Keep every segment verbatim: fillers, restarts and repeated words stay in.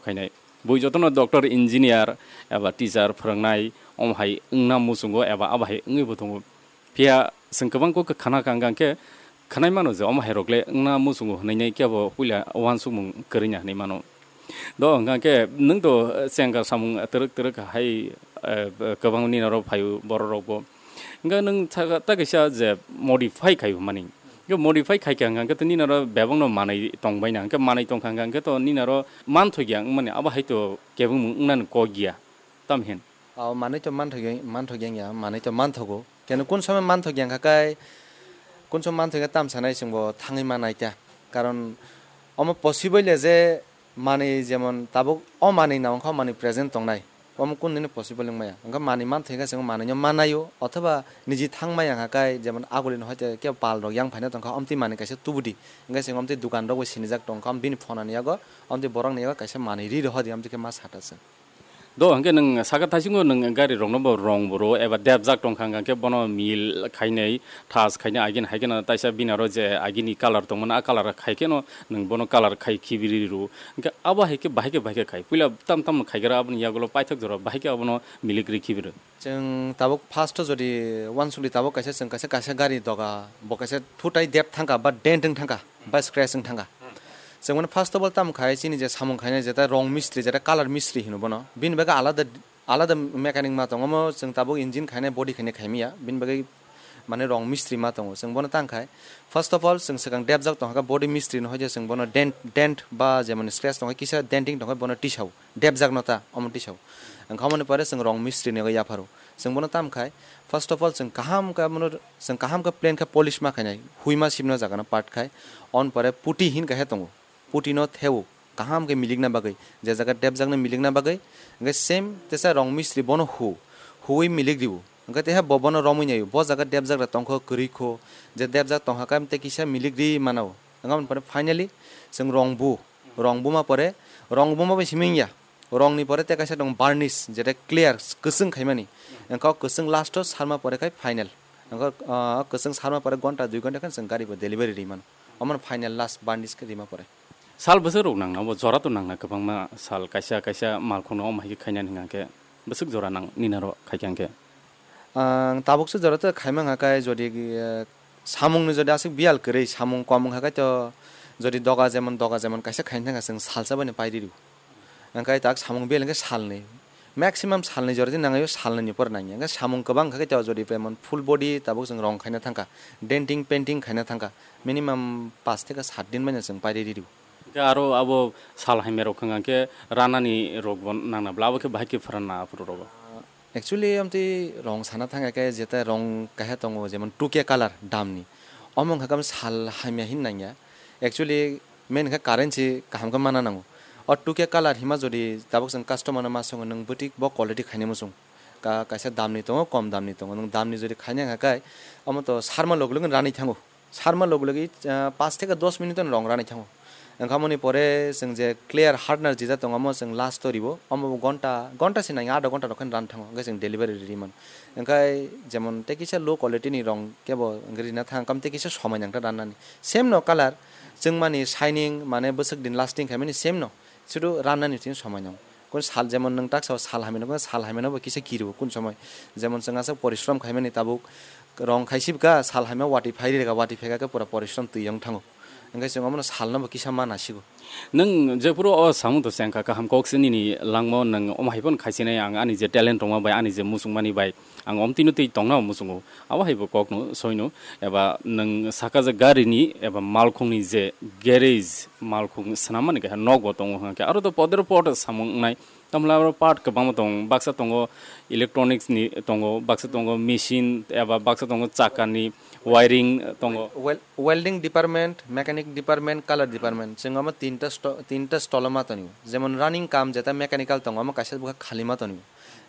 khainai. Bui jotono doctor, engineer eba teacher phwrwngnai omo hai wngna muchungo eba abo hai wngwi bo tongo. Phiya chwng kwbang kok khana kang kang khe khwnai mano je omo hai rok le wngna muchungo hwnwi nai khe bo puila uansukmung kwrwina hwnwi mano. Do hwnkha khe nwng to, eh, chengkar samung twrwk twrwk hai, eh, kwbang nini oro phaio borok rok bo. Hwnkhe nwng ta, ta kaisa je modify khai mani. Hwnkhe modify khai kha hwnkha khe to nini oro bebak no manwi tong bai na. Hwnkhe manwi tong kha hwnkha khe to nini oro manthok ya wngmani abo hai to kebengmung wngnani kok ya. Tam hin. O manwi to manthok ya, manthok ya, manwi to manthogo. Keno kun somoi manthok ya hwnkha khe, kun somoi manthok ya tam sanai chwngbo thangwi manai ta. Karon omo possible ya je manwi jemon tabuk o manwi na wngkha o manwi present tongnai. Omo kun dini possible wngmaya. Wngkha manwi manthok ya chwngbo manwi no manaio. Othoba niji thangmaya hwnkha khe jemon aguli no hoite kebo pal rok yang phaina tongkha omtwi manwi kaisa tubudi. Hwnkhe chwng omtwi dukan rok bo sinijak tongkha bini phone ni yago omtwi borok ni yago kaisa manwi ri rohodi omtwi khe ma sata chwng. Do hwnkhe nwng saka thaisingo nwng gari rokno bo rong bo rwo eba depjak tongkha hwnkhe bono mil khainai, thas khainai, agini hai kheno taisa bini aro je agini colour tongmani a colour khai kheno nwng bono colour khai khibiri rwo. Hwnkhe abo hai khe bahai khe bahai khe khai. Puila tam tam khaigra aboni yagulo paithak jora bahai khe abono milik ri khibiro. Chwng tabuk first o jodi uansukdi tabuk kaisa chwng kaisa kaisa gari doga bo kaisa thutai dep thangkha ba dent wng thangkha ba scratch wng thangkha. Chwng mane first of all tamo khai chini je samung khainai jeta rong mistri jeta colour mistri hino bono. Bini bagwi alada alada mechanic ma tongo, omo chwng tabuk engine khainai body khainai khaimya. Bini bagwi mane rong mistri ma tongo. Chwng bono tang khai first of all chwng swkang depjak tongkha body mistri no hoide chwng bono dent dent ba jemon scratch tongkha kisa denting tongkha bono tisao. Depjak no ta omo tisao. Wngkha omoni pore chwng rong mistri ni yapharo. Chwng bono tam khai first of all chwng kaham khe bono chwng kaham khe plain khe polish ma khainai. Hui ma sibna jaga no part khai. On pore puti hin kaisa tongo. Puti no theo kaham khe milikna bagwi, je jaga depjak no milikna bagwi. Hwnkhe same tesa rong mistri bono hu. Huwi milik ribu. Hwnkhe teha bo bono romwi naio. Bo jaga depjak da tongkho kwrwi kho. Je depjak tongkha khe tei kisa milik ri mano. Wngkha omoni pore finally chwng rong bu. Rong buma pore, rong buma bai simi wngya. Rong ni pore tei kaisa tongo varnish, jeta clear, kwchwng khaimani. Wngkha o kwchwng last o sarma pore khai final. Wngkha, ah, kwchwng sarma pore gonta dui gonta khe chwng gari bo delivery ri mano. Omo no final last varnish khe rima pore. Sal bwswk rok nangna, bo jora to nangna kwbangma sal kaisa kaisa malkhung no omo hai khe khainani hwnkha khe bwswk jora nang nini aro khai khe hwnkhe. Ang tabukse jora to khaima wngkha khe jodi, eh, samung ni jodi aswk biyal kwrwi, samung kom wngkha khe to jodi doga jemon, doga jemon kaisa khaina thangkha chwng salsa bai no pai rw. Hwnkhe tak samung biyal hwnkhe salni. Maximum salni jora di nangyo, salni ni pore nangya. Hwnkhe samung kwbang wngkha khe to jodi jemon full body tabuk chwng rong khaina thangkha, denting painting khaina thangkha, minimum paanch theke saat din bai no chwng pai rw. Hwnkhe aro abo sal hamya rok wngkha khe ranani rok bo nangna bla abo khe bahai khe pharanna aphuru rogo. Actually, amtwi rong sana thang khe jeta rong kaisa tongo, jemon two K colour damni. Omo wngkha khe sal hamya hin nangya. Actually, main khe current si kaham khe mana nango. O two K colour hima jodi tabuk chwng customer no ma songo, nwng bwtwi bo quality khainai muchung. Ka-, kaisa damni tongo, kom damni tongo. Nwng damni jodi khaina wngkha khe, omo to sarma log login ranwi thango. Sarma log logi, ah, paanch theke dos minute no rong ranai thango. Wngkha moni pore chwng je clear hardener jija tongo, omo chwng last o ribo, omo bo gonta, gonta se nangya, adha gonta rok khe ran thango, hwnkhe chwng delivery ri man. Wngkha jemon tei kisa low quality ni rong kebo rina thang, kam tei kisa somai nang ta rannani. Same no colour, chwng mani shining, mane bwswk din lasting khaimani same no, sudu rannani thing somai nang. Kun sal jemon nwng taksa sal hamya no, sal hamya no bo kisa kirio kun somoi. Jemon chwng aswk porishrom khaimani tabuk rong khaisibkha, sal hamya watwi phai rega, watwi phaikha khe pura porishrom twi wng thango. Hwnkhe chwng omono salno bo kisa ma nasigo. Nwng jephuru o samung to chengkha kaham kok se nini langmo, nwng omo hai phano khaisinai ang ani je talent tongma bai, ani je muchungmani bai. Ang omtwino twi tongna muchungo. Abo hai bo kokno soino, eba nwng saka je garini eba malkhungni je garage, malkhung swnammani kaisa nok bo tongo hwnkhe aro to podero pod samung wngnai. Tamla aro part kwbangma tongo, baksa tongo electronics ni tongo, baksa tongo machine eba baksa tongo chakani wiring tongo. Wel-, welding department, mechanic department, colour department, chwng omo tinta sto-, tinta stolo ma tongo. Jemon running kam jeta mechanical tongo, omo kaisa bwkha khali ma tongo.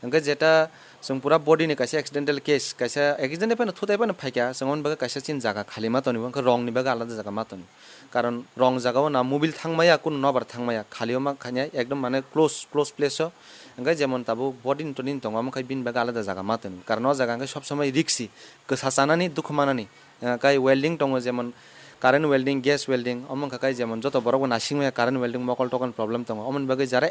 Hwnkhe jeta chwng pura body ni kaisa accidental case, kaisa accident phano thutai phano phaikha, chwng omo bagwi kaisa chini jaga khali ma tongo, hwnkhe rong ni bagwi alada jaga ma tongo. Karon rong jaga o na mobile thangmaya, kunu nobar thangmaya, khali o ma khanya ekdom mane close, close place o, hwnkhe jemon tabuk body ni toni tongo, omo khai bini bagwi alada jaga ma tongo. Karon o jaga hwnkhe sob somoi riksi, kwsa chanani, dukhu manani, ah, kai welding tongo, jemon current welding, gas welding, omo wngkha kai jemon joto borok bo nasing maya current welding mokol tokol problem tongo, omoni bagwi jara